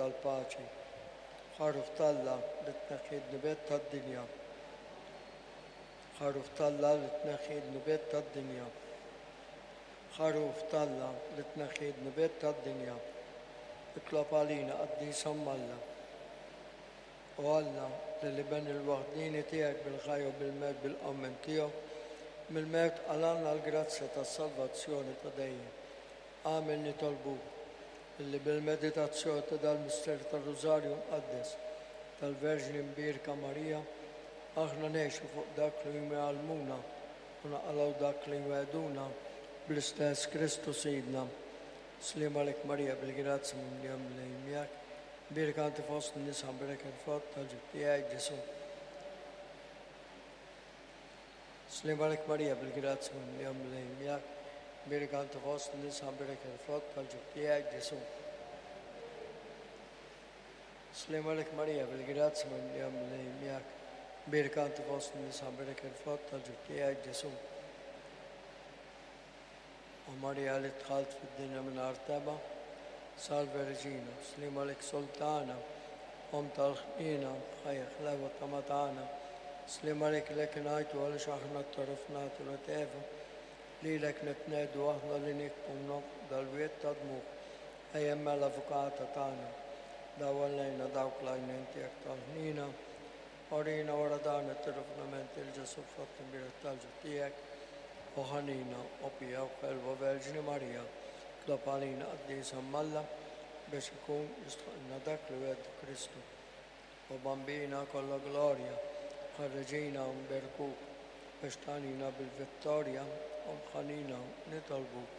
tal-paċi. Ħaruf t'Alla li tneħħi d-dnubiet tad-dinja. Ħaruf t'Alla li tneħħi d-dnubiet tad-dinja. Ħaruf t'Alla li tneħħi d-dnubiet tad-dinja. Itlob għalina, Qaddis Omm Alla. O Alla, li l-Iben il-waħdieni tiegħek bil-ħajja u bil-mewt bil-qawmien tiegħu mill-mewt qalgħalna l-grazzja tas-salvazzjoni ta' dejjem, agħmel nitolbuk illi bil-meditazzjoni ta' dal-misteru tar-Rużarju Mqaddes tal-Verġni Mbierka Marija aħna ngħixu fuq dak li huma jgħallmuna u naqalgħu dak li jwegħduna bl-istess Kristu Sidna. Sliem għalik Marija bil-grazzja mimlija Mulej miegħek, Mbierka inti fost in-nisa mberek il-frott tal-ġuf tiegħek Ġesù. Sliem għalik Marija bil-grazzja mimlija Mulej miegħek, mbierka inti fost in-nisa mberek il-frott tal-ġuf tiegħek Ġesù. Sliem għalik Marija bil-grazzja mimlija Mulej miegħek, mbierka inti fost in-nisa mberek il-frott tal-ġuf tiegħek Ġesù. O Marija li dħalt fid-dinja mingħajr tebgħa, Salve Regina, sliem għalik Sultana, Omm tal-ħniena, ħajja ħlewa tama tagħna, sliem għalik lek ngħajtu għaliex aħna t-torof nagħtu l Eva, lilek nitnegħdu aħna li nikbu nonfqu dal-wied ta' dmugħ, ejja mela Avukata tagħna, dawwal lejna dawk l-għajnejn tiegħek tal-ħniena, Urina wara dan it-tirrifnament lil Ġesù frott imbierek tal-ġuf tiegħek, o ħanina, o pija u ħelwa Verġni Marija, itlob għalina qaddisa m'Alla biex ikun jistħoqqilna dak li wegħdu Kristu. O Bambina kollha glorja, ħarreġina u nberkuk biex tagħnina bil-vittorja, Omm ħanina nitolbuk.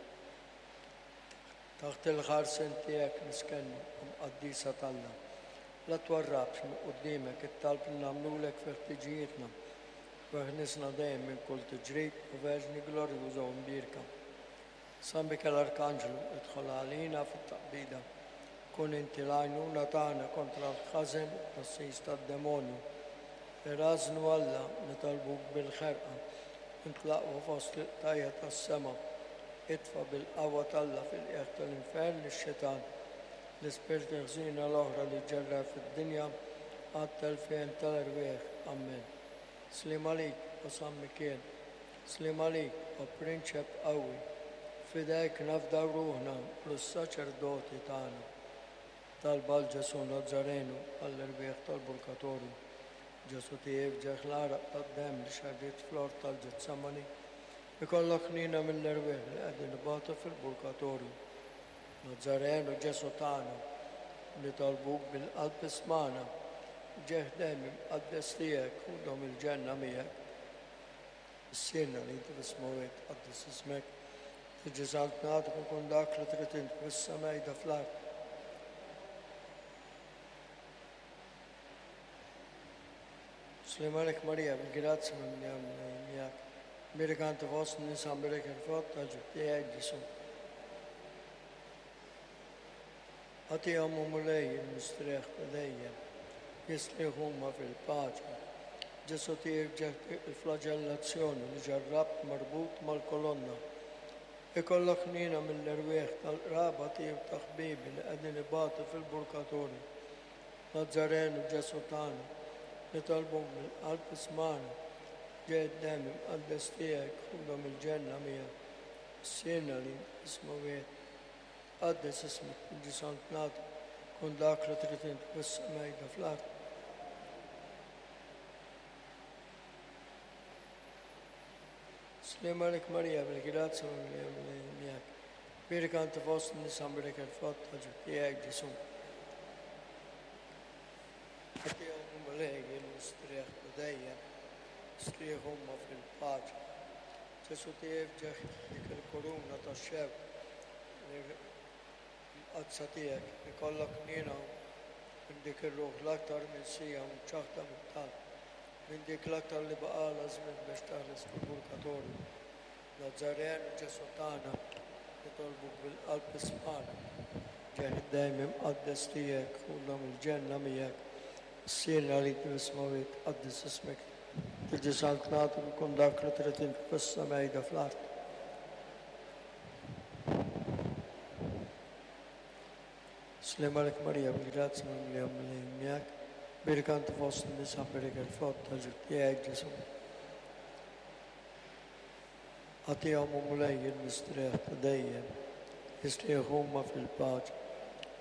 Taħt il-ħarsien tiegħek niskennu, Omm qaddisa t'Alla. La twarrabx minn quddiemek it-talb li nagħmlulek fi ħtiġijietna, u eħlisna dejjem minn kull tiġrib, o Verġni glorjuża u mbierka. San Mikiel Arkanġlu, idħol għalina fit-taqbida. Kun inti l-għajnuna tagħna kontra l-ħażen u t-tnassis tad-demonju. Irażżnu Alla, nitolbuk bil-ħerqa, int l-aqwa fost il-qtajja' tas-sema. Itfa' bil-qawwa t'Alla fil-qiegħ tal-infern lix-xitan, l-ispirti ħżiena l-oħra li ġġerrer fid-dinja għat-telfien tal-erwieħ. Ammen. Sliem għalik, o San Mikiel. Sliem għalik, o Prinċep qawwi. F'idejk nafdaw ruħna u lis-saċerdoti tagħna. Talba għal Ġesù Nazzarenu għall-erwieħ tal-Purgatorju. Ġesù tiegħi f'ġerħ l-għaraq tad-demm li xerridt fl-ort tal-Ġetsemani, ikollok ħniena mill-erwieħ li qegħdin ibatu fil-Purgatorju. Nazzarenu Ġesù tagħna, nitolbuk bil-qalb ismagħna, ġieħ dejjem imqaddes tiegħek ħudhom il-ġenna miegħek. Missierna li inti fis-smewwiet, tqaddes ismek, tiġi saltnatek u jkun dak li trid int fis-sema jda fl-art. Sliem għalik Marija, bil-grazzja mimlija miegħek. Mbierek inti fost in-nisa, mbierek il-frott tal-ġuf tiegħek, Ġesù. Agħtihom, o Mulej, il-mistrieħ ta' dejjem, jistrieħu huma fil-paċi. Ġesù tiegħi f'ġeħti il-flaġellazzjoni li ġarrabt marbut mal-kolonna. Ikollok ħniena mill-erwieħ tal-qraba tiegħi u ta' ħbiebi li qegħdin ibatu fil-purgatorju. Nazzarenu Ġesù tagħna, nitolbuk mill-qalb ismagħna. Ġej id-demm imqaddes tiegħek, ħudhom il-ġenna miegħek. Missierna li int fis-smewwiet, tqaddes ismek, tiġi saltnatek, kun dak li trid int fis-sema jda fl-art. Sliem għalik Marija, bil-grazzja mimlija Mulej miegħek. Bierka inti fost in-nisa mbierek il-frott tal-ġuf tiegħek Ġesù. Agħtihom Mulej il-mistrieħ ta' dejjem, strieħ huma fil-paċi. Ġesù tiegħi f'ġieħ dik il-kuruna tax-xewk li mqaddsa tiegħek, ikollok ħniena minn dik ir-ruħ l-aktar minsija u mċaħħda mit-talb, minn dik l-aktar li baqgħalha żmien biex teħles mill-purgatorju. Nazzaren, Ġesù tagħna, nitolbuk bil-qalb ismagħna. Ġieħ id-dejjem imqaddes tiegħek, ħudhom il-ġenna miegħek. Missierna li inti fis-smewwiet, tqaddes ismek, tiġi saltnatek u jkun dak li trid int fis-sema jda fl-art. Sliem għalik Marija, bil-grazzja mimlija Mulej miegħek, Bierka inti fost in-nisa, bierek il-frott tal-ġuf tiegħek, Ġesù. Agħtihom, o Mulej, il-mistrieħ ta' dejjem, jistrieħu huma fil-paċi.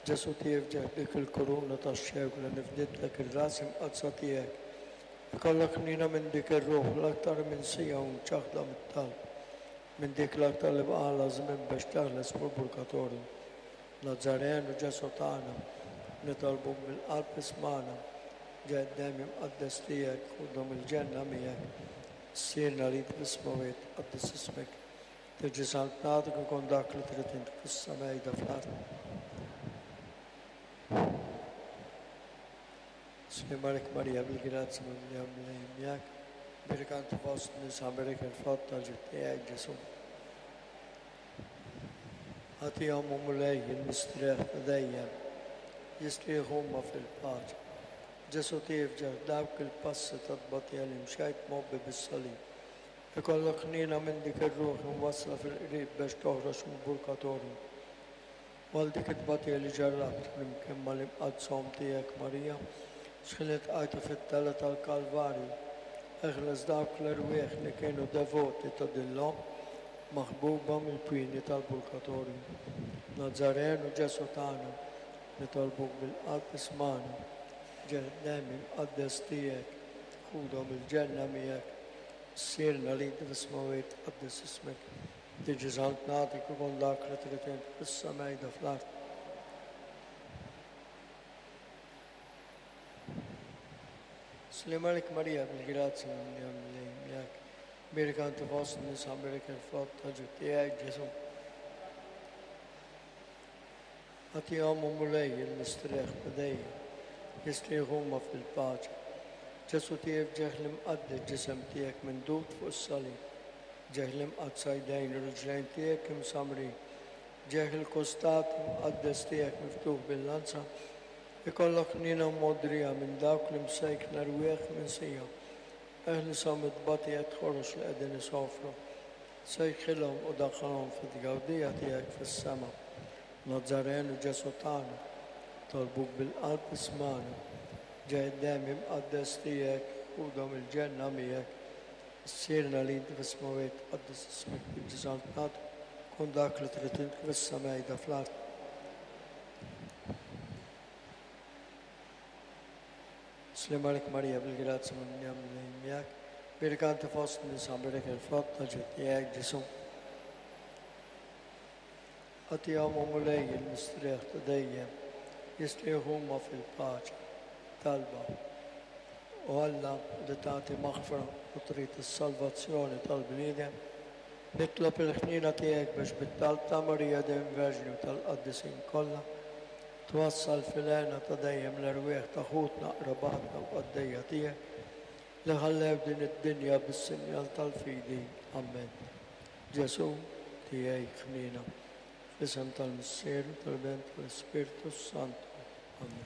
Ġesù tifġeħ dik il-kuruna tax-xewk li nifditlek ir-ras imqaddsa tiegħek. Ikollok ħniena minn dik ir-ruħ l-aktar minsija u mċaħħda mit-talb, minn dik l-aktar li baqgħalha żmien biex teħles mill-purgatorju. Nazzarenu Ġesù tagħna, nitolbuk mill-qalb ismagħna, ġej id-demm imqaddes tiegħek, ħudhom il-ġenna miegħek. Missierna li inti fis-smewwiet, tqaddes ismek, tiġi saltnatek u jkun dak li trid int fis-sema fl-art. Sliem għalik Marija bil-grazzja mimlija Mulej miegħek, bierka inti fost nisa bierek il-frott tal-ġuf tiegħek Ġesù. Agħtihom o Mulej il-mistrieħ ta' dejjem, jistrieħu huma fil-paċi. Ġesù tifġa f'dawk il-passi ta' tbatija li mxejt mgħobbi bis-salib. Ikollok ħniena minn dik ir-ruħ imwassla fil-qrib bex toħroġ mill-purgatorju. U għal dik it-tbatija li ġarrabt flimkien mal-imqaddsa Omm tiegħek Marija, x'ħin iltqajtu fit-telgħa tal-Kalvarju, eħles dawk l-erwieħ li kienu devoti ta' din l-Omm maħbuba mill-pieni tal-purgatorju. Nazzarenu Ġesù tagħna, nitolbuk bil-qalb ismagħna, ġeħ-demm imqaddes tiegħek, ħudhom il-ġenna miegħek. Missierna li inti fis-smewwiet, tqaddes ismek. Tiġi saltnatek ikun dak li trid int fis-sema jda fl-art. Sliem għalik Marija bil-grazzja mimlija Mulej miegħek. Bierka inti fost in-nisa bierek il-frott tal-ġuf tiegħek Ġesù. Agħtihom o Mulej il-mistrieħ ta' dejjem, jistrieħu huma fil-paċi. Ġesù tiegħek ġieħ l-imqaddes ġisem tiegħek mindud fuq is-salib. Ġieħ l-imqaddsa jdejn u riġlejn tiegħek imsammrin. Ġieħ il-kustat imqaddes tiegħek miftuħ bil-lanza. Ikollok ħniena u mogħdrija minn dawk l-imsejkna rwieħ minsija. Eħlishom mit-tbatijiet ħorox li qegħdin isofru. Sejħilhom u daħħalhom fit-tgawdija tiegħek fis-sema. Nazzarenu Ġesù tagħna, nitolbuk bil-qalb ismagħna. Ġej id-demm imqaddes tiegħek, ħudhom il-ġenna miegħek. Missierna li inti fis-smewwiet, tqaddes ismek, tiġi saltnatek, kun dak li trid int kif is-sema jda fl-art. Sliem għalik Marija bil-grazzja mimlija Mulej miegħek, bierka inti fost in-nisa bierek il-frott tal-ġuf tiegħek Ġesù. Agħtihom o Mulej il-mistrieħ ta' dejjem, jistrieħu huma fil-paċi. Talba. O Alla li tagħti maħfra u trid is-salvazzjoni tal-bniedem, nitlob il-ħniena tiegħek biex bit-talb ta' Marija dejjem Verġni u tal-qaddisin kollha, Twassal fil-hena ta' dejjem l-erwieħ ta' ħutna, qrabatna u qaddejja tiegħek li ħallew din id-dinja bis-sinjal tal-fidi. Ammen. Ġesù, tiegħi ħniena. Fl-isem tal-Missier u tal-Iben u tal-Ispirtu s-Santu. Ammen.